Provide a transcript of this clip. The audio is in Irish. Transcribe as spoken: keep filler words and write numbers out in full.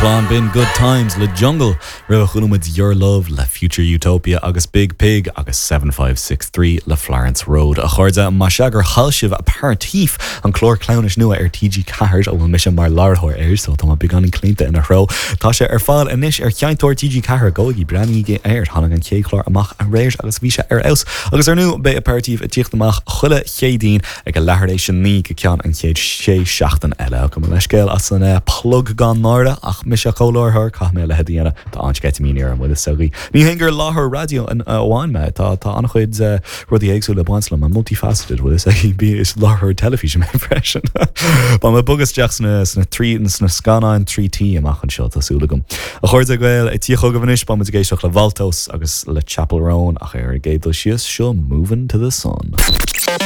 chlann b'in Good Times le Jungle roimhe chuala muid Your Love le Future Utopia agus Biig Piig agus seven five six three le Florence Road. A chairde más ea gur chaill sibh Aperitif an clár cleamhnais nua ar TG Ceathair a bhfuil mise mar láithreoir air so tá beagáinín claonta ina threo. Tá sé ar fáil anois ar sheinnteoir TG Ceathair gabhaigí breathnaígí air tháinig an chéad chlár amach aréir agus bhí sé ar fheabhas agus ar ndóigh beidh Aperitif ag tíocht amach chuile Chéadaoin ag a leathuair tar éis a naoi go ceann an chéad sé seachtain eile go leiscéil as an eh, plug gan náire ach mise comhláithreoir caithfidh mé a leithéid a dhéanamh tá an-sceitimíní orm bhfuil a fhios agaibh. Ní hé gur láithreoir raidió amháin mé tá tá an-chuid eh, rudaí éagsúla ag baint liom multifaceted bhfuil a fhios agaibh bí is láithreoir teilifíse mé freisin. Ba me bugus sna sna trí sna scannáin trí T amach anseo tá súil agam. A chairde Gael ag tíocht chugaibh anois beidh muid ag éisteacht le Valtos agus le Chappell Roan ach ar an gcéad dul síos seo Moving to the Sun.